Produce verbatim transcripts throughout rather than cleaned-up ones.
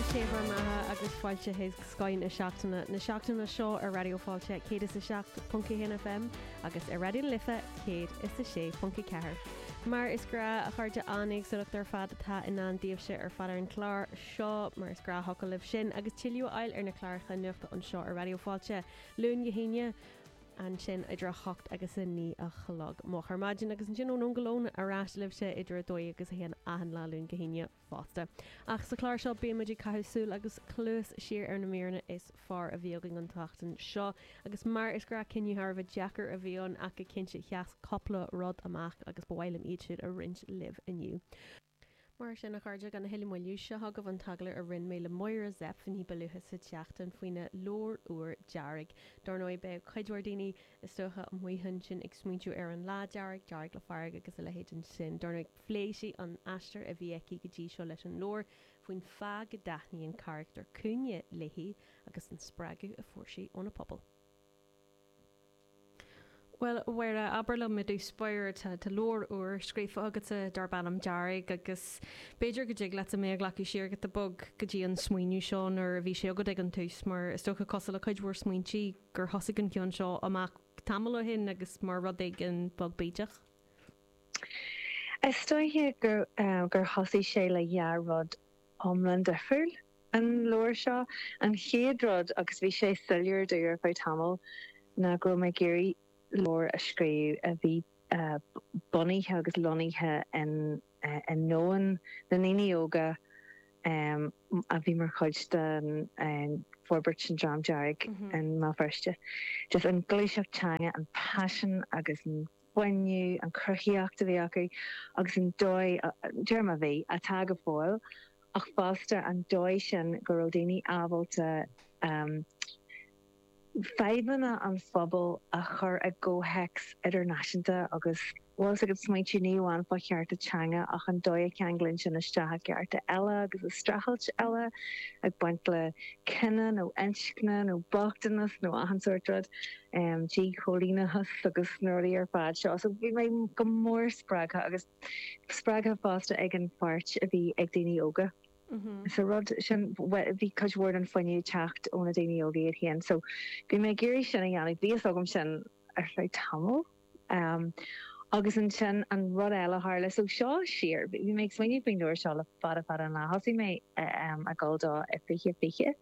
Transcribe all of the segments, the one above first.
Sé bhur mbeatha agus fáilte chuig Scoth na Seachtaine na seachtaine seo ar Raidió Fáilte céad is a seacht ponc a haon F M agus ar Raidió na Life céad is a sé ponc a ceathair. Mar is gnách, a chairde, an-éagsúlacht ar fad atá i ndán daoibhse ar fad ar an chlár seo, mar is gnáthfhocal libh sin, agus tuilleadh a fháil ar na cláracha nuachta anseo ar Raidió Fáilte Luan go hAoine ansin idir a hocht agus a naoi a chlog moch ar maidin agus ansin ón go lón ar ais libhse idir a dó agus a haon achan lá Luan go hAoine fosta. Ach sa chlár seo bímid ag caitheamh súil agus cluas siar ar na míreanna is fearr a bhí againn an tseachtain seo, agus mar is gnách, cinneadh thar a bheith deacair a bhí ann, ach go cinnte sheas cúpla rud amach agus ba mhaith liom iad siúd a roinnt libh inniu. Mar sin, a chairde, gan a thuilleadh moille, seo chugaibh an t-agallamh a rinne mé le Máire Zepf ní ba luaithe sa tseachtain faoina leabhar úr Dearg. Dar ndóigh, beidh cuid mhór daoine, is dócha, amuigh ansin ag smaointiú ar an lá dearg, dearg le fearg agus a leithéid ansin. Dar ndóigh, phléigh sí an aistear a bhí aici go dtí seo leis an leabhar, faoin fáth go dtaitníonn carachtar cúinne léi agus an spreagadh a fuair sí óna pobal. Well, Mháire, abair liom i dtús báire, tá tá leabhar úr scríofa agatsa darb ainm Dearg, agus b'fhéidir go dtig leat mé a ghlacadh siar giota beag go dtí an smaoineamh seo nuair a bhí sé agat ag an tús, mar is dócha, cosúil le cuid mhór smaointe, gur thosaigh an ceann seo amach tamall ó shin agus mar rud éigin beag bídeach. Is dóiche gur uh, gur thosaigh sé le dhá rud iomlán difriúil, an leabhar seo. An chéad rud, agus bhí sé soiléir domh ar feadh tamall, ná go raibh mé ag iarraidh leabhar a scríobh a bhí uh, bunaithe agus lonnaithe in uh, i ndomhan na ndaoine óga um, a bhí mar chuid den um, forbairt an Dream Dearg mm -hmm. in Mbéal Feirste. Just an ghluaiseacht teanga, an passion agus an fuinneamh, an chruthaíocht a bhí acu agus an dóigh deir bhí atá go fóill, ach fosta an dóigh sin go raibh daoine ábalta um, fadhbanna an phobail a chur i gcomhthéacs idirnáisiúnta agus bhfuil agat smaointiú ní amháin fá chearta teanga ach an dóigh a cheanglaíonn sin isteach cearta eile agus a streachailt eile ag baint le cine nó inscne nó bochtanas nó achan sórt rud, um, díchoilíneachas agus na rudaí ar fad seo. So bhí mé go mór spreagtha agus spreagtha fosta ag an pháirt a bhí ag daoine óga. Mm-hmm. So rud sin, bhí cuid mhór an fuinneamh teacht ó na daoine óga iad féin, so bhí mé ag iarraidh sin a dhéanamh, bhí agam sin ar feadh tamall. Um, agus ansin an rud eile tharla, so seo siar, bhí mé ag smaoineamh faoin leabhar seo le fada fada an lá. Thosaigh mé um, ag gabháil dó i fiche fiche.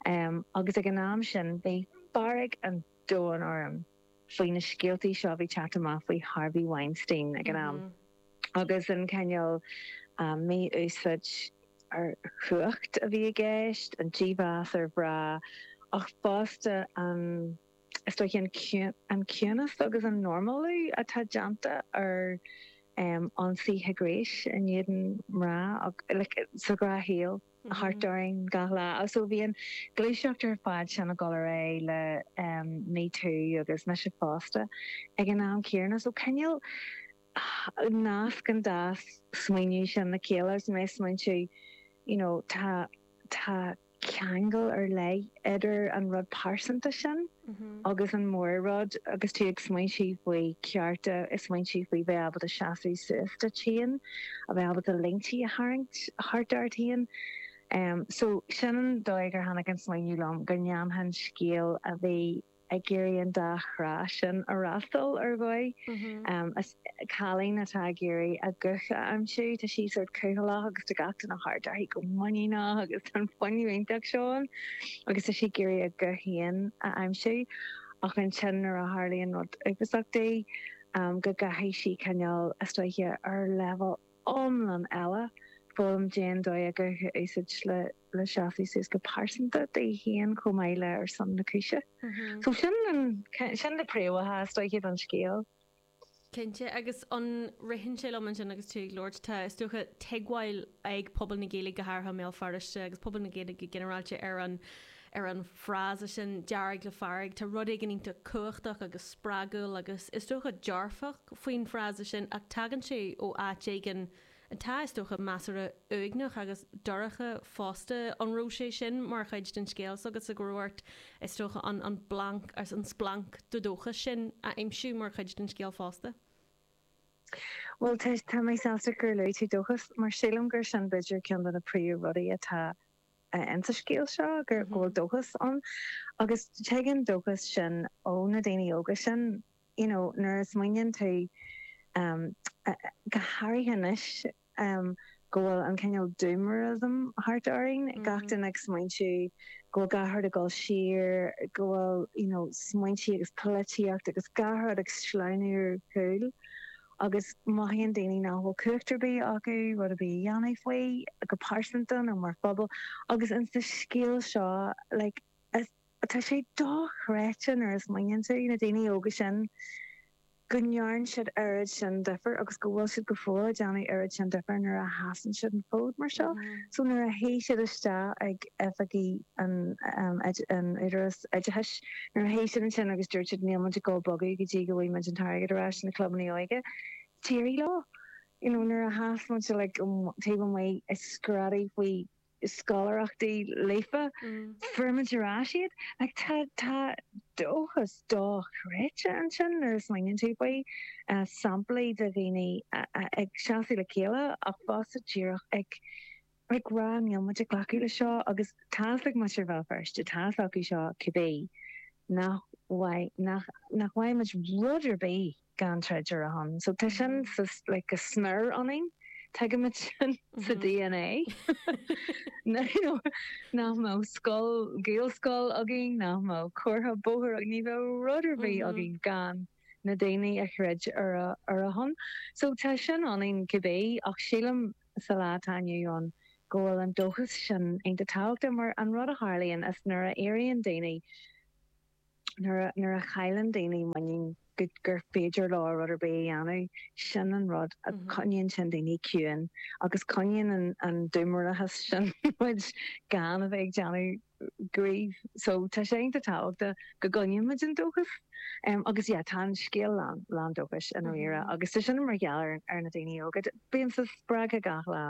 Um, agus ag an am sin bhí fearg an domhain orm faoi na scéaltaí seo bhí teacht amach faoi Harvey Weinstein ag an am. Mm -hmm. Agus an cineál um, mí-úsáid ar chumhacht a bhí i gceist, an dímheas ar mhná, ach fosta an is dóiche an ciúnas agus an normalú atá déanta ar um, ionsaithe gnéis in éadan mná like, sa ghnáthshaol thart orainn gach lá. So bhí an ghluaiseacht ar fad sin ag dul ar aghaidh le um, Me Too agus Mise fosta ag an am céanna, so cineál nasc an dá smaoineamh sin le chéile mé smaointiú you know, tá tá ceangal ar leith idir an rud pearsanta sin mm -hmm. agus an mór rud agus tú ag smaointiú faoi cearta is smaointiú faoi bheith ábalta seasamh suas duit féin, a bheith ábalta línte a tharraingt thart ort féin. Um, so sin an dóigh gur tháinig an smaoineamh liom go ndéanfainn scéal a bhí ag iarraidh an dá thrá sin a fhreastal ar dhóigh. Mm -hmm. um, cailín atá ag iarraidh a guth a aimsiú, tá sí sort cúthaileach agus tá gach duine thart uirthi go muiníneach agus an fuinneamh iontach seo agus tá sí ag iarraidh a guth féin a aimsiú, ach ansin nuair a tharlaíonn rud uafásach di um, go gcaithfidh sí cineál, is dóiche, ar leibhéal iomlán eile foghlaim cén dóigh a guth a úsáid le le seasamh suas go pearsanta di féin chomh maith le ar son na cúise. Mm -hmm. So sin an sin na príomhfháthanna, is dóiche, don scéal. Cinnte, agus an ritheann sé liom ansin agus tú ag labhairt, tá, is dócha, tuigbheáil ag pobal na Gaeilge, go háirithe i mBéal Feirste, agus pobal na Gaeilge go ginearálta, ar an ar an frása sin "dearg le fearg". Tá rud éigin iontach cumhachtach agus spreagúil agus, is dócha, dearfach faoin frása sin, ach tagann sé ó áit éigin atá, is dócha, measartha uaigneach agus dorcha fosta. An raibh sé sin mar chuid den scéal agus go raibh ort, is dócha, an an blanc agus an splanc de dóchas sin a aimsiú mar chuid den scéal fosta? Well, tá mé sásta gur luaigh tú dóchas, mar sílim gur sin b'fhéidir ceann de na príomhrudaí atá insa scéal seo gur go bhfuil dóchas ann agus tagann dóchas sin ó na daoine óga sin you know nuair a smaoiníonn tú um, go háirithe anois um, go bhfuil an cineál doomerism thart orainn mm -hmm. gach duine ag smaointiú go bhfuil gach rud ag dul siar go bhfuil you know, smaointe agus polaitíocht agus gach rud ag sleamhnú ar chúl agus mothaíonn daoine nach bhfuil cumhacht ar bith acu rud ar bith a dhéanamh faoi go pearsanta nó mar phobal agus in sa scéal seo like, is, tá sé dochreidte nuair a smaoiníonn tú na daoine óga sin go ndearna siad oiread sin difear agus go bhfuil siad go fóill ag déanamh oiread sin difear nuair a sheasann siad an fód mar seo. Mm -hmm. So nuair a théann siad isteach ag oifigí an um, an Údarás Oideachais nuair a théann siad ansin agus dúirt siad níl muid ag dul bogadh go dtí go bhfaighidh muid an t-airgead ar ais na clubanna óige. D'éirigh leo. You know, nuair a sheas muid like, um, taobh amuigh ag screadaíl faoi scoláireachtaí Líofa mm. fuair muid ar ais iad like, tá tá dóchas dochreidte ansin nuair a smaoiníonn tú faoi uh, samplaí de dhaoine uh, uh, ag seasamh le chéile ach fosta díreach ag ag rá níl muid ag glacadh le seo agus tá ag muintir Bhéal Feirste tá acu seo cibé nach nach nach bhfaighidh muid rud ar bith gan troid ar a shon. So tá sin like, go smior ionainn. Tuigimid sin sa DNA. nach mbeadh scoil Gaelscoil againn nach mbeadh comhartha bóthair ní bheadh rud ar bith againn gan na daoine a throid ar a ar a shon. So tá sin ionainn cibé ach sílim sa lá atá inniu ann go bhfuil an dóchas sin iontach tábhachtach mar an rud a tharlaíonn is nuair a éiríonn daoine nuair a chailleann daoine muinín gur féidir leo rud ar bith a dhéanamh sin an rud a mhm. choinníonn sin daoine ciúin agus coinníonn an dúmorachas sin muid gan a bheith ag déanamh gníomh so tá sé an-tábhachtach go gcoinníonn muid an dóchas um, agus yeah, tá an scéal lán lán dóchais an riire mm -hmm. agus tá sin mar gheall ar, ar na daoine óga bíonn sa spreagtha gach lá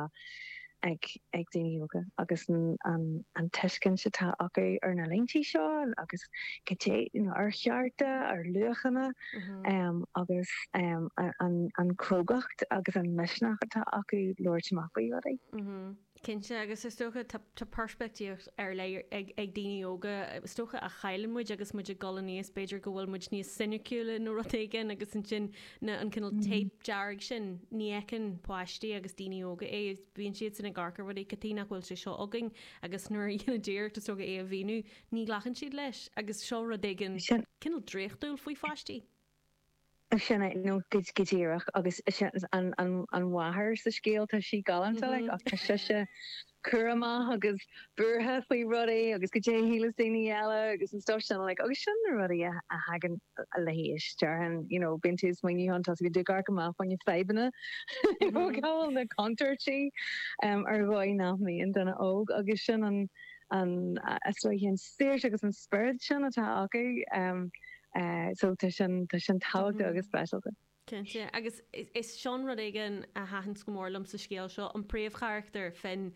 ag ag daoine óga agus an an, an tuiscint atá acu ar na línte seo agus go you know, ar chearta ar luachanna mm -hmm. um, agus um, an, an chrógacht agus an misneach atá acu labhairt amach faoi rudaí. Mm -hmm. Cinnte agus is dócha tá peirspictíocht ar leith ag ag daoine óga is dócha a chailleann muid agus muid ag dul aníos b'fhéidir go bhfuil muid níos soiniciúla nó rud éigin agus ansin na an cineál mm. tape dearg sin ní fheiceann páistí agus daoine óga é bíonn siad sin ag amharc ar rudaí cad chuige nach bhfuil sé seo againn agus nuair a dhéanann iarracht is dócha é a mhíniú ní ghlacann siad leis agus seo rud éigin cineál draíochtúil faoi pháistí. Sin é nó go díreach agus an an an mháthair sa scéal tá sí galánta mm -hmm. ach tá sise cúramach agus buartha faoi rudaí agus goidé a shíleas daoine eile agus an stuff sin like, agus sin na rudaí a thagann le haois déarfainn you know bíonn tú smaoineamh an tá go dtugar amach faoin fadhbanna gáil na contúirtí um, ar dhóigh nach mbíonn duine óg agus sin an an an saoirse agus an spiorad sin atá acu um, Uh, so tá sin tá sin tábhachtach agus speisialta. Cinnte agus is sin rud éigin a thaitin go mór liom sa scéal seo an príomhcharachtar Finn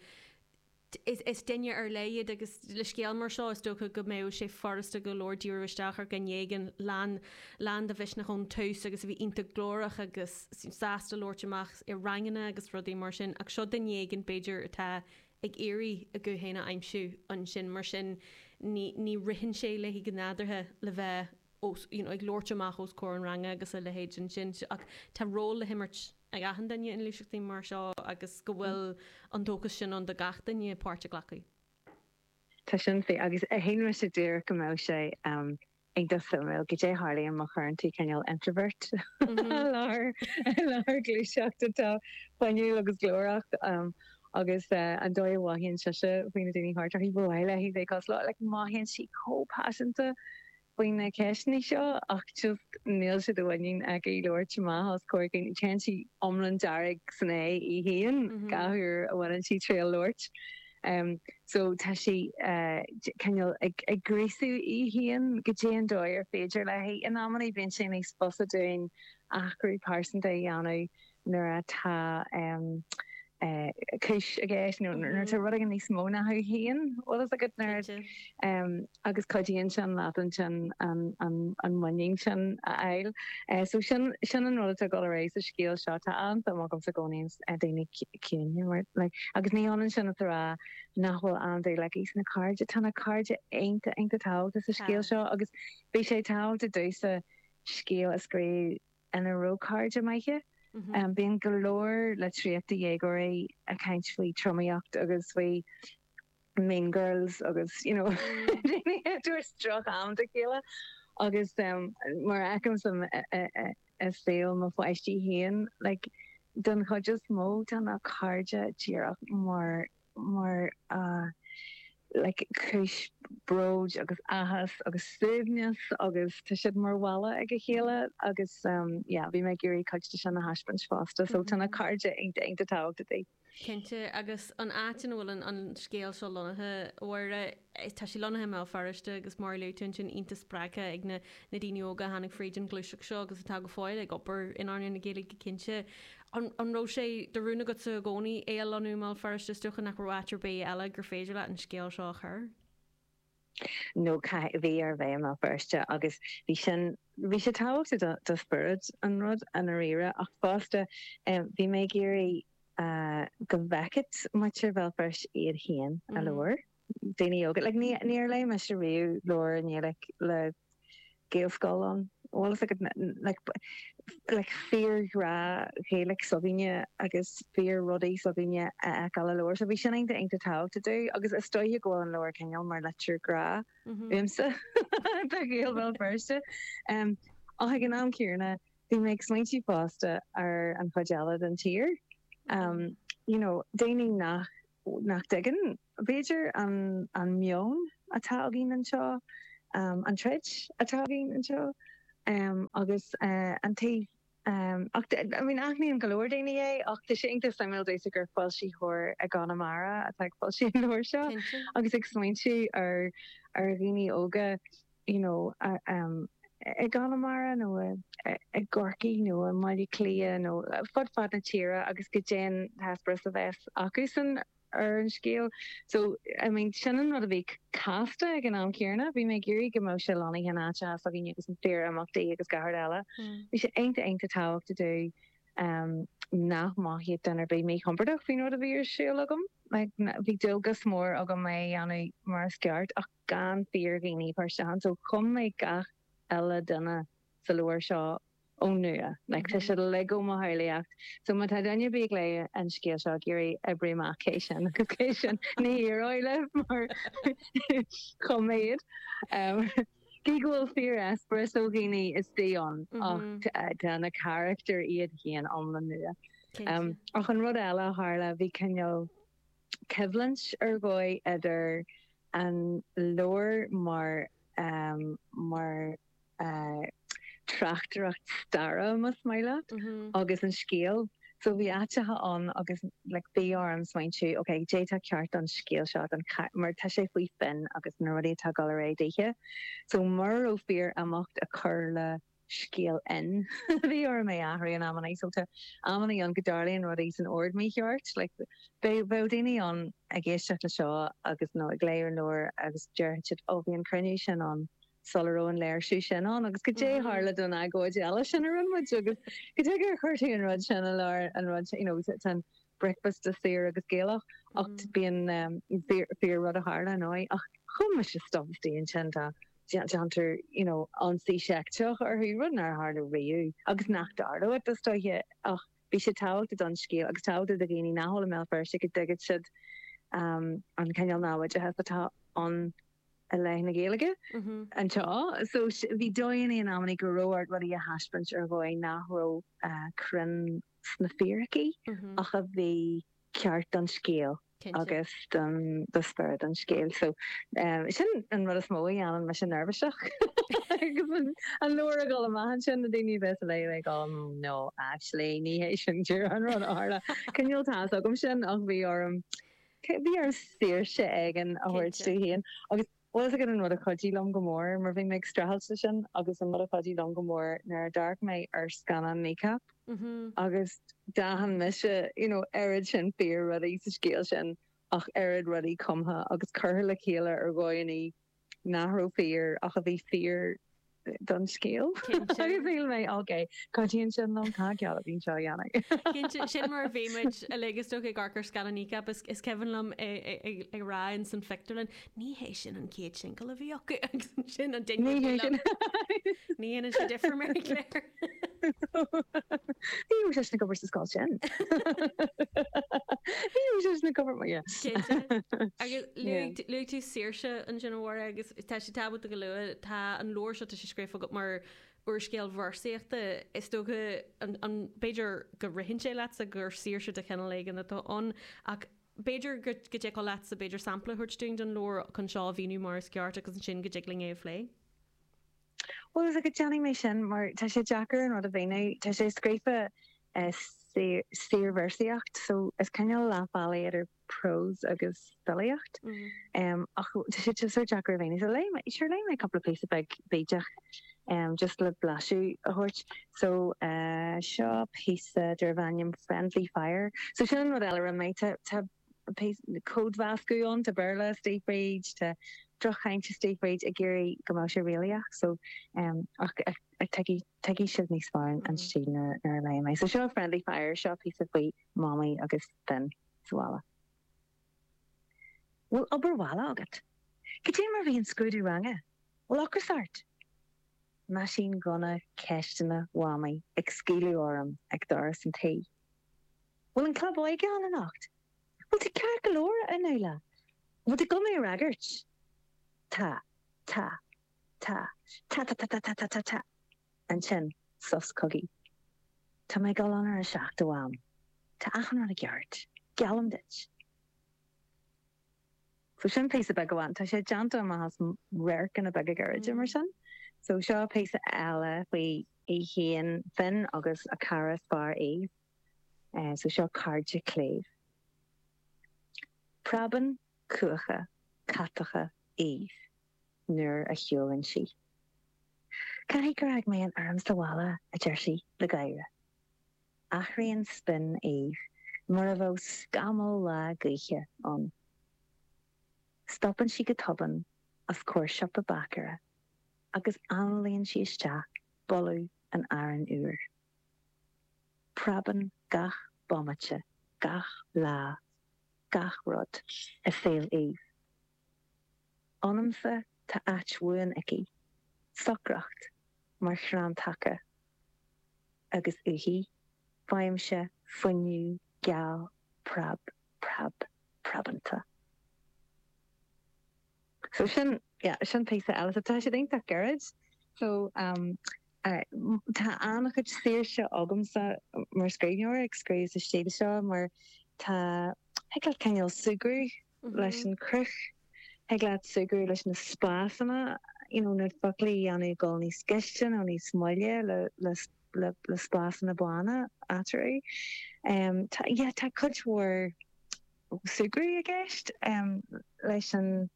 is, is duine ar leith agus le scéal mar seo is dócha go mbeadh sé furasta go leor díriú isteach ar dhuine éigin lán lán de mhisneach ón tús agus a bhí iontach glórach agus sásta labhairt amach i ranganna agus rudaí mar sin ach seo duine éigin b'fhéidir atá ag iarraidh a guth féin a aimsiú ansin mar sin ní, ní ritheann sé léi go nádúrtha le bheith os, you know, ag labhairt amach os comhair an ranga agus a leithéid ansin ach tá ról le himirt ag achan duine in ngluaiseachtaí mar seo agus go bhfuil an dóchas sin ann do gach duine páirt a ghlacadh. Tá sin fíor agus a haon sé dúr go mbeadh sé um, iontach suimiúil goidé a tharlaíonn má chuireann tú cineál introvert lár lár gluaiseacht atá fuinniúil agus glórach um, agus uh, an dóigh a mothaíonn sise faoi na daoine thart uirthi ba mhaith léi bheith cosúil like, mothaíonn sí chomh paiseanta faoi na ceisteanna seo ach just níl sé de mhuinín aici labhairt amach os comhair daoine téann sí iomlán dearg san é í féin gach uair a bhaineann sí triail labhairt. Um, so tá sí uh, cineál ag, ag gríosú í féin go dtí an dóigh ar féidir léi in amanna bíonn sé níos fusa dúinn athrú pearsanta a dhéanamh nuair atá um, Cúis i gceist nó nuair atá rud éigin níos mó ná thú féin bhfuil fhios agat nuair agus cuidíonn sin leat ansin an an an muinín sin a fháil. So sin sin an rud atá ag dul ar aghaidh sa scéal seo tá an-suim agamsa i gcónaí i daoine ciúine mar like agus ní hionann sin is a rá nach bhfuil an-dúil aici sna cairde tá na cairde iontach iontach tábhachtach sa scéal seo agus bhí sé tábhachtach domhsa scéal a scríobh ina raibh cairde maithe. Bíonn go leor litríocht do dhéagóirí ag caint faoi tromaíocht agus faoi mean girls agus you know daoine ag tabhairt droch-am dá chéile agus mar a fheicimse i saol mo pháistí féin like don chuid is mó tá na cairde díreach mar mar like cúis bróid agus áthas agus suaimhneas agus tá siad mar bhalla ag a chéile agus yeah bhí mé ag iarraidh cuid de sin a thaispeáint fosta so tá na cairde iontach iontach tábhachtach di. Cinnte, agus an áit ina bhfuil an scéal seo lonnaithe, a Mháire, tá sé lonnaithe i mBéal Feirste agus mar a luaigh tú ansin iontach spreagtha ag na daoine óga a tháinig fríd an ghluaiseacht seo agus atá go fóill ag obair in earnáil na Gaeilge cinnte. An raibh sé de rún agatsa i gcónaí é a lonnú i mBéal Feirste, is dócha nach raibh áit ar bith eile gur féidir leat an scéal seo a chur? No, bhí air bheith i mBéal Feirste agus bhí sin, bhí sé tábhachtach do, do spiorad an rud i ndáiríre ach fosta bhí mé ag iarraidh go bhfeicfeadh muintir Bhéal Feirste iad féin i leabhar. Daoine óga, like ní, níor léigh mise riamh leabhar i nGaeilge le Gaelscoil ann. Bhfuil fhios agat like like fíorghrá Ghaeilge s'againne agus fíor rudaí s'againne a fheiceáil i leabhar. So bhí sin iontach iontach tábhachtach domh agus is dóiche go bhfuil an leabhar cineál mar litir grá uaimse do Ghaeil Bhéal Feirste. Um, ach ag an am céanna bhí mé ag smaointiú fosta ar an chuid eile den tír. Um, you know, daoine nach nach dtuigeann, b'fhéidir, an an meon atá againn anseo, an troid atá againn anseo agus an taobh ach I mean aithníonn go leor daoine é ach tá sé iontach suimiúil domhsa gur foilsitheoir i gConamara atá ag foilsiú an leabhair seo agus ag smaointiú ar ar dhaoine óga you know i gConamara nó i gCorcaigh nó i mBaile Átha Cliath nó fud fad na tíre agus goidé an t-eispéireas a bheas acusan ar an scéal. So, I mean, sin an rud a bhí casta ag an am céanna. Bhí mé ag iarraidh go mbeadh sé lonnaithe in áiteacha s'againne agus na fíor-imeachtaí agus gach rud eile. Bhí sé iontach iontach tábhachtach domh nach mothaíodh duine ar bith míchompordach faoin rud a bhí ar siúl agam. Like, bhí dualgas mór agam é a dhéanamh mar is ceart ach gan fíor-dhaoine a chur isteach ann. So, chum mé gach uile duine sa leabhar seo ón nua. Like, tá siad uilig ó mo shamhlaíocht. So má tá duine ar bith ag léamh an scéal seo ag iarraidh oibriú amach cé sin agus cé sin, ní éireoidh libh mar chum mé iad. Um, cé go bhfuil fíor-eispéireas ó dhaoine istigh ann ach tá na carachtair iad féin iomlán nua. Um, ach an rud eile a tharla, bhí cineál coimhlint ar dhóigh idir an leabhar mar um, mar tráchtaireacht staire, más maith leat, agus an scéal. So bhí áiteacha ann agus like bhí orm smaointiú, ok, cad é atá ceart don scéal seo, don mar tá sé faoi Finn agus na rudaí atá ag dul ar aghaidh daoithe. So mura raibh fíor imeacht ag cur le scéal Fhinn, bhí orm é a athrú in amannaí. So tá amannaí ann go dtarlaíonn rudaí san ord mícheart. Like beidh bheadh daoine ann ag éisteacht le seo agus nó ag léamh an leabhair agus déarfaidh siad, oh bhí an cruinniú sin ann sula raibh an léirsiú sin ann agus goidé a tharla don agóid eile sin a rinne muid agus cad chuige ar chuir tú an rud sin i lár an rud sin, you know, tá an bricfeasta saor agus Gaelach ach bíonn fíor rud a tharla ar ndóigh ach chum mise stuff istigh ansin tá déantar you know ionsaí seicteach orthu, rud nár tharla riamh agus nach dtarlóidh is dóiche ach bhí sé tábhachtach don scéal agus tábhachtach do dhaoine nach bhfuil i mBéal Feirste go dtuigfidh siad an cineál námhaideachas atá ann i leith na Gaeilge anseo. So bhí dóigheanna in amannaí go raibh ort rudaí a thaispeáint ar dhóigh nach raibh cruinn sna fíricí ach a bhí ceart don scéal agus don do spiorad an scéil. So sin an rud is mó a dhéanann mise neirbhíseach agus an leabhar ag dul amach ansin na daoine a bheas ag léamh ag dul no actually ní hé sin díreach an rud a tharla. Cineál tá fhios agam sin ach bhí orm bhí orm saoirse éigin a thabhairt domh féin agus Bhfuil a fhios agat an rud a chuidigh liom go mór mar bhí mé ag streachailt leis sin agus an rud a chuidigh liom go mór nuair a d'amharc mé ar scannán Kneecap agus d'aithin mise you know oiread sin fíor rudaí sa scéal sin ach oiread rudaí cumtha agus curtha le chéile ar dhóigheanna nach raibh fíor ach a bhí fíor don scéal. Agus shíl mé ok, cuidíonn sin liom tá ceall a bhíonn seo a dhéanamh. Cinnte, sin mar a bhí muid uilig is dócha ag amharc ar scannán Kneecap is is cuimhin liom ag rá in san phictiúrlann, ní hé sin an chéad singil a bhí acu agus ansin an duine Ní hé sin. Ní dhéanann sé difear Mary Claire. Ní raibh sé ag obair sa scoil sin. Ní raibh sé ag obair mar yeah. Cinnte. Agus luaigh tú saoirse ansin a Mháire agus tá sé tábhachtach go lua tá an leabhar seo tá sé scríofa agat mar úrscéal véarsaíochta is dócha an b'fhéidir go ritheann sé leatsa gur saoirse de chineál éigin atá ann ach b'fhéidir go go dtiocfadh leatsa b'fhéidir sampla a thabhairt dúinn den leabhar chun seo a mhíniú mar is ceart agus ansin go dtig linn é a phlé. Well is go déanfaidh mé sin mar tá sé deacair an rud a mhíniú tá sé scríofa saorvéarsaíocht so is cineál leath bealaigh idir prós agus filíocht. Um, ach tá sé just sórt deacair a mhíniú. So léigh mé sure léigh mé cúpla píosa beag bídeach um, just le blaiseadh a thabhairt. So uh, seo píosa darb ainm Friendly Fire. So sin an rud eile a mé tá tá códmheascadh ann tá Béarla istigh fríd tá drochchaint istigh fríd ag iarraidh go mbeadh sé réalaíoch so um, ach tuigfidh sibh níos fearr an stíl nuair a léigh mé. So seo Friendly Fire seo píosa faoi Mamaí agus Finn sa bhaile. Bhfuil obair bhaile agat. Cad é mar bhí an scrúdú ranga, Bhfuil ocras ort? Meaisín gunna ceisteanna Mhamaí ag scaoileadh orm ag doras an tí. Bhfuil an club óige ann anocht? Bhfuil tú ceart go leor a Fhionnuala? Bhfuil tú go mé a fhreagairt? Tá, tá, tá, tá tá tá tá tá tá tá tá. Ansin sos cogaidh. Tá mé ag dul ann ar a seacht a Mham. Tá achan rud i gceart. Geallaim duit. So sin píosa beag amháin tá sé déanta amach as radharcanna beaga gairide mar sin. So seo píosa eile faoi í féin Finn agus a cara is fearr Eve. Uh, so seo cairde cléibh. Preabann cuacha catacha Eve nuair a shiúlann sí. Caithfidh gur fhág mé an fhoirm sa bhaile a deir sí le gáire. Athraíonn spin Eve mar a bheadh scamall lá gaoithe ann. Stopann sí go tobann os comhair siopa bácaire agus análaíonn sí isteach boladh an aráin úir. Preabann gach bomaite, gach lá, gach rud i saol Eve. Ionamsa tá áit bhuan aici, socracht mar chrann taca, agus uaithi faighimse fuinneamh geal preab preab preabanta. So sin yeah, sin píosa eile so tá sé iontach gairid. So um, uh, tá an-chuid saoirse agamsa mar scríbhneoir ag scríobh sa stíl seo mar tá thig leat cineál súgradh leis an cruth, thig leat súgradh leis na spásanna, you know, na foclaí a dhéanamh dul níos gaiste nó níos moille le, le, le, le spásanna bána eatarthu. Um, tá, yeah, tá cuid mhór súgradh i gceist um, leis an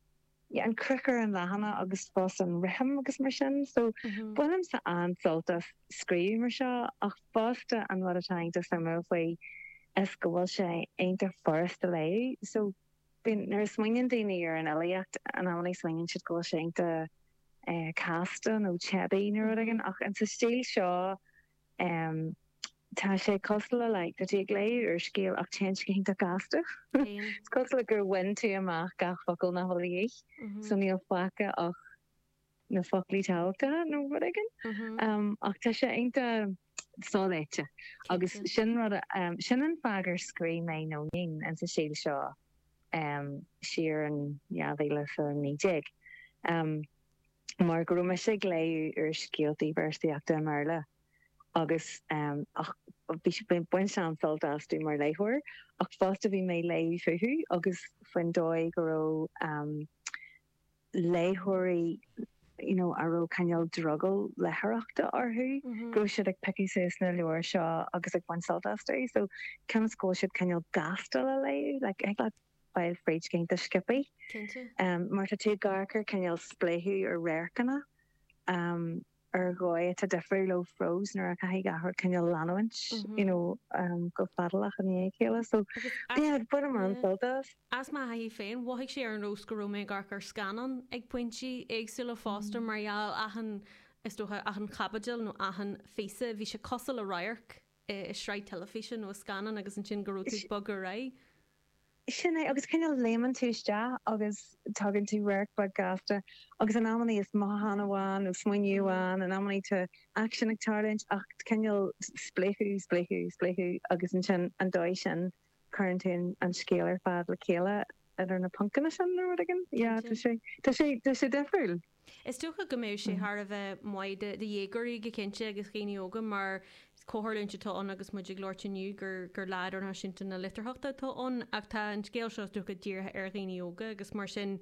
yeah, an cruth ar an leathanach agus fós an rithim agus mar sin, so mm -hmm. Bainimse an-sult as scríobh mar seo ach fosta an rud atá iontach suimiúil faoi is go bhfuil sé iontach furasta léamh. So bíonn nuair a smaoiníonn daoine ar an fhilíocht in amannaí smaoiníonn siad go bhfuil sé iontach eh, casta nó teibí nó rud éigin ach in sa stíl seo um, tá sé cosúil le like, tá tú ag léamh úrscéal ach téann sé go hiontach gasta. Is cosúil le gur bhain tú amach gach focal nach bhfuil de dhíth, so níl fágtha ach na foclaí tábhachtacha nó rud éigin. Um, ach tá sé iontach soléite agus sin rud um, sin an fáth gur scríobh mé Nóinín in sa stíl seo um, siar in dhá mhíle is a naoi déag. Um, mar go raibh mise ag léamh úrscéaltaí véarsaíochta i mBéarla agus um, ach bhí bain an-sult astu mar léitheoir ach fosta bhí mé léamh fúthu agus faoin dóigh go raibh um, léitheoirí you know, a raibh cineál drogall léitheoireachta orthu mm -hmm. go raibh siad ag piocadh suas na leabhair seo agus ag baint sult astu so ceann go siad cineál gasta le léamh like, ag le fáil fríd go hiontach sciobtha. Cinnte. Um, mar tá tú ag amharc ar cineál spléachadh ar radharcanna um, ar dhóigh atá difriúil ó phrós nuair a chaithfidh gach rud cineál leanúint you know, um, go fadalach i ndiaidh a chéile. So yeah, bhain mé an-sult as. As mo thaithí féin, mhothaigh sé ar nós go raibh mé ag amharc ar scannán ag pointí éagsúla fosta mar gheall achan is dócha achan chaibidil nó achan phíosa, bhí sé cosúil le radharc i sraith teilifíse nó i scannán agus ansin go raibh tú ag bogadh ar aghaidh. Sin é, agus cineál léimeann tú isteach agus tagann tú radharc beag gasta agus in amannaí is mothúchán amháin nó smaoineamh amháin, in amannaí tá aicsean ag tarlúint ach cineál spléachadh, spléachadh, spléachadh agus ansin an dóigh sin cuireann tú an scéal ar fad le chéile idir na poncanna sin nó rud éigin. Yeah, tá sé, tá sé, tá sé difriúil. Is dócha go mbeadh sé thar a bheith maith do dhéagóirí go cinnte agus dhaoine óga mar comhtharlúint atá ann agus muid ag labhairt inniu gur gur Lá Idirnáisiúnta na Litearthachta atá ann ach tá an scéal seo is dócha dírithe ar dhaoine óga agus mar sin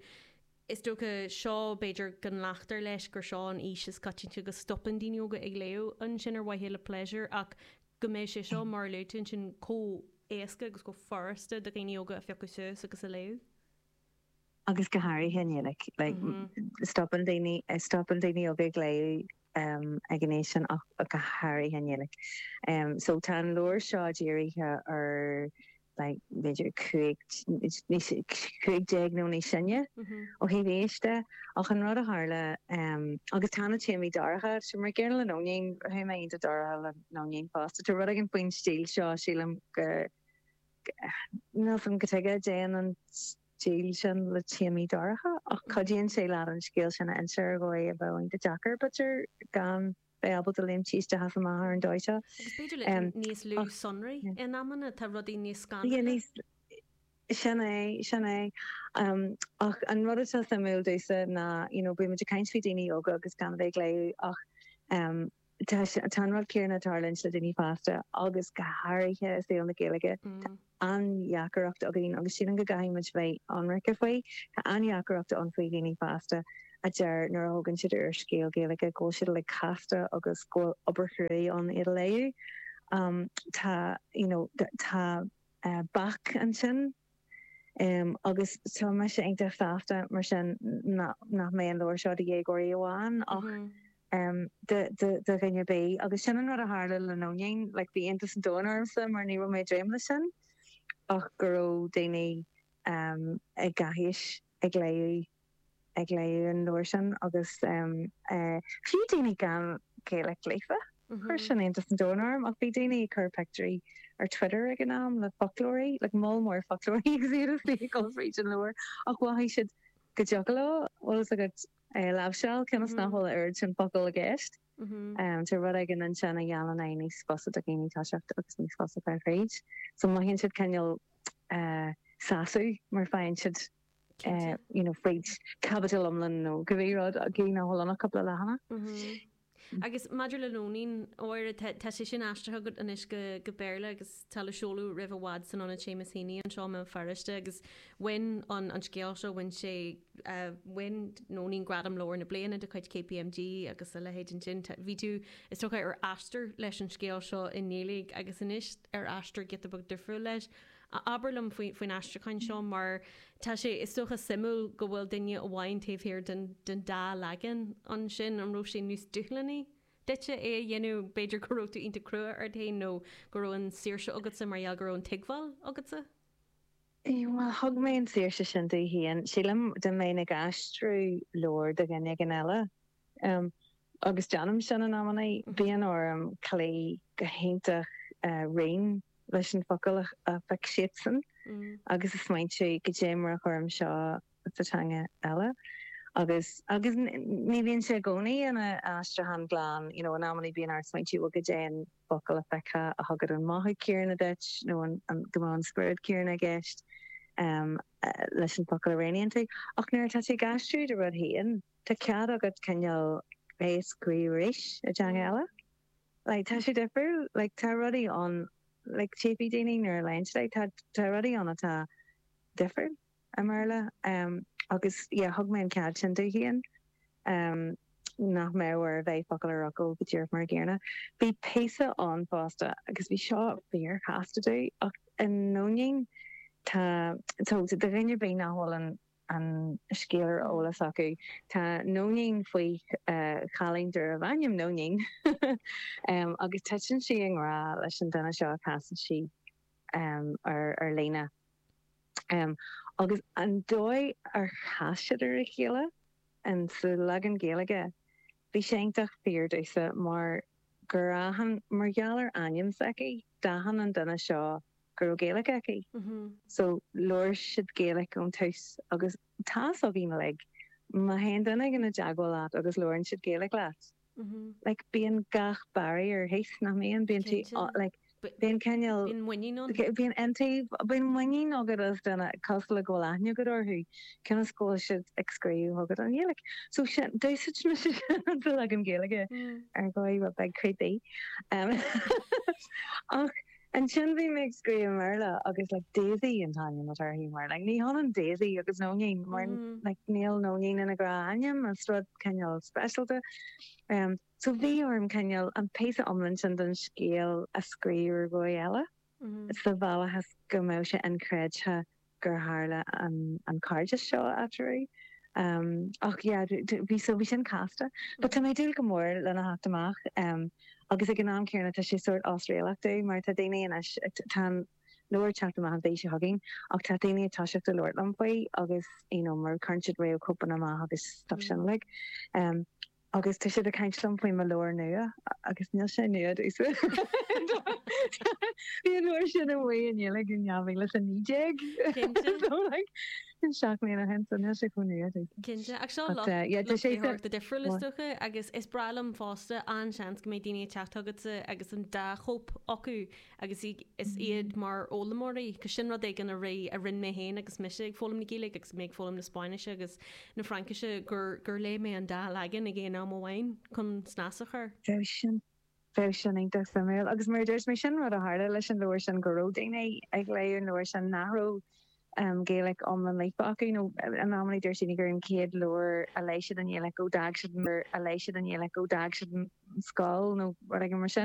is dócha seo b'fhéidir go nglactar leis gur seo an aois is coitianta go stopann daoine óga ag léamh ansin ar mhaithe le pléisiúr ach go mbeidh sé seo mar a luaigh tú ansin chomh éasca agus chomh furasta do dhaoine óga a phiocadh suas agus a léamh. Agus go háirithe i nGaeilge, like, stopann daoine, stopann daoine óga ag léamh um, ag an aois sin ach go háirithe i nGaeilge. Um, so tá an leabhar seo dírithe ar like, b'fhéidir cúig cúig déag nó níos sine ó thaobh aois de ach an rud a tharla um, agus tá na téamaí dorcha, so mar gcéanna le Nóinín, chuaigh mé iontach dorcha le Nóinín fosta. Tá rud éigin faoin stíl seo sílim go níl a fhios agam cad chuige a dtéann an stíl sin le téamaí dorcha ach cuidíonn sé leat an scéal sin a inse ar dhóigh a bheadh iontach deacair b'fhéidir gan bheith ábalta léimt isteach is amach ar an dóigh seo. Agus b'fhéidir le níos lú sonraí in amanna, tá rudaí níos Yeah, scanrúla. níos sin é, sin é. Um, ach an rud atá suimiúil domhsa ná you know, bíonn muid ag caint faoi daoine óga agus gan a bheith ag léamh ach um, tá tá an rud céanna ag tarlúint le daoine fásta agus go háirithe i saol na Gaeilge. Mm. an-deacracht againn agus sílim go gcaithfidh muid bheith ionraic faoi, Tá an-deacracht ann faoi dhaoine fásta a deir nuair a thógann siad ar scéal Gaeilge go bhfuil siad like casta agus go bhfuil obair chrua ann iad a léamh. Um, tá you know, tá uh, bac ansin um, agus tá mise iontach sásta mar sin nach mbeidh an leabhar seo do dhéagóirí amháin ach Mm -hmm. um, de, de, de dhuine ar bith agus sin an rud a tharla le Nóinín, like, bhí iontas an domhain ormsa mar ní raibh mé ag dréim leis sin ach go raibh daoine um, ag gach aois ag léamh ag léamh an leabhar sin agus um, uh, fiú daoine gan Gaeilge líofa. Mm Chuir -hmm. sin iontas an domhain orm ach bhí daoine ag cur pictiúirí ar Twitter ag an am le foclóirí, like moll mór foclóirí agus iad ag dul fríd an leabhar ach mhothaigh siad go dtiocfadh leo bhfuil a fhios agat é láimhseáil cionn is Mm nach -hmm. bhfuil a oiread sin focal i gceist. Mm -hmm. Um, tá rud éigin ansin a dhéanann é níos fusa do dhaoine toiseacht agus níos fusa fáil fríd. So mothaíonn siad cineál uh, sásamh mar faigheann siad uh, Cinnte. you know, fríd caibidil iomlán nó go bhí rud a gcí nach bhfuil ann ach cúpla leathanach. Mm -hmm. Agus maidir le Nóinín óir tá sé sin aistrithe agat anois go go Béarla agus tá le seoladh roimh i bhfad san Ionad Seamus Heaney anseo i mBéal Feirste agus bhain an an scéal seo bhain sé uh, bhain Nóinín Gradam Leabhar na Bliana de chuid KPMG agus a leithéid ansin. Bhí tú is dócha ar aistear leis an scéal seo i nGaeilge agus anois ar aistear giota beag difriúil leis. Abair liom faoin faoin aistriúchán seo mar tá sé is dócha suimiúil go bhfuil duine amháin taobh thiar den den dá leagan ansin an raibh sé níos dúshlánaí duitse é a dhéanamh b'fhéidir go raibh tú iontach crua ort féin nó go raibh an saoirse agatsa mar gheall go raibh an tuigbheáil agatsa? Well thug mé an saoirse sin domh féin sílim dá mbeinn ag aistriú leabhar do dhuine éigin eile. Um, agus déanaim sin in amannaí bíonn orm cloí go hiontach uh, righin leis an focal a, a phioc siadsan Mm. agus is smaointiú cad é mar a chuirim seo sa teanga eile. Agus agus ní bhíonn sé i gcónaí ina aistriúchán glan, you know, in amannaí bíonn ort smaointiú bhuel cad é an focal a phiocfá a thugann an mothú céanna duit nó an, an go mbeadh an spiorad céanna i gceist um, uh, leis an focal a roghnaíonn tú. Ach nuair atá tú ag aistriú do rud féin, tá cead agat cineál é a scríobh arís i dteanga eile. Like, tá sé difriúil, like, tá rudaí ann like, tífidh daoine nuair a léann siad tá tá rudaí ann atá difriúil i mBéarla um, agus yeah, thug mé an cead sin domh féin um, nach mbeadh air bheith focal ar fhocal go díreach mar an gcéanna. Bhí píosa ann fosta agus bhí seo fíorchasta domh ach in Nóinín tá so do dhuine ar bith nach bhfuil an an scéal ar eolas acu tá Nóinín faoi uh, chailín darbh ainm Nóinín um, agus titeann sí i ngrá leis an duine seo a chasann sí um, ar ar líne. Um, agus an dóigh ar chas siad ar a chéile an sa leagan Gaeilge bhí sé iontach fíor domhsa mar gur aithin mar gheall ar ainm s'aici d'aithin an duine seo go raibh Gaeilge aici. Mhm. So labhair siad Gaeilge ón tús agus tá againn like má théann duine éigin i dteagmháil leat agus labhrann siad Gaeilge leat. Mhm. Like bíonn gach barrier thíos nach mbíonn bíonn tú Cinnte. like bíonn cineál Bíonn muinín ann. Bíonn iontaoibh bíonn muinín agat as duine cosúil le go bhfuil aithne agat orthu cionn is go bhfuil siad ag scríobh chugat i nGaeilge. So sin d'úsáid mise sa leagan Gaeilge Mm. ar dhóigh rud beag creepy. Um, ach ansin bhí mé ag scríobh i mBéarla agus like Daisy an t-ainm atá uirthi mar like ní hionann Daisy agus Nóinín mar Mhm. like níl Nóinín ina gnáthainm is rud cineál speisialta. Um, so bhí orm cineál an píosa iomlán sin den scéal a scríobh ar dhóigh eile. Mhm. Sa bhealach is go mbeadh sé inchreidte gur tharla an, an cairdeas seo eatarthu. Um, ach yeah, bhí so bhí sin casta. But tá mé ag dúil go mór lena theacht amach um, agus ag an am céanna tá sé sort osréalach domh mar tá daoine anois tá an leabhar teacht amach an mhí seo chugainn ach tá daoine ag toiseacht ag labhairt liom faoi agus you know, mar cuireann siad réamhchóipeanna amach agus stuff sin like. Um, agus tá siad ag caint liom faoi mo leabhar nua agus níl sé nua domhsa. Bhí an leabhar sin amuigh i nGaeilge in dhá mhíle a naoi déag. Cinnte. So like seacht mbliana ó shin so níl sé chomh nua domhsa. Cinnte ach seo But, uh, yeah, tá sé de difriúil is dócha agus is breá liom fosta an seans go mbeidh daoine ag teacht chugatsa agus an dá chóip acu agus i- is iad mar fhoghlaimeoirí, cos sin rud éigin a ré a rinne mé féin agus mise ag foghlaim na Gaeilge agus mé ag foghlaim na Spáinnise agus na Fraincise gur gur léigh mé an dá leagan ag aon am amháin chun snas a chur. Bheadh sin bheadh sin iontach suimiúil agus mar dúirt mé sin rud a tharla leis an leabhar sin go raibh daoine ag léamh an leabhar sin nach raibh um, Gaeilge iomlán líofa acu nó in amannaí dúirt siad gur an chéad leabhar a léigh siad i nGaeilge ó d'fhág siad mar a léigh siad i nGaeilge ó d'fhág siad an scoil nó rud éigin mar sin.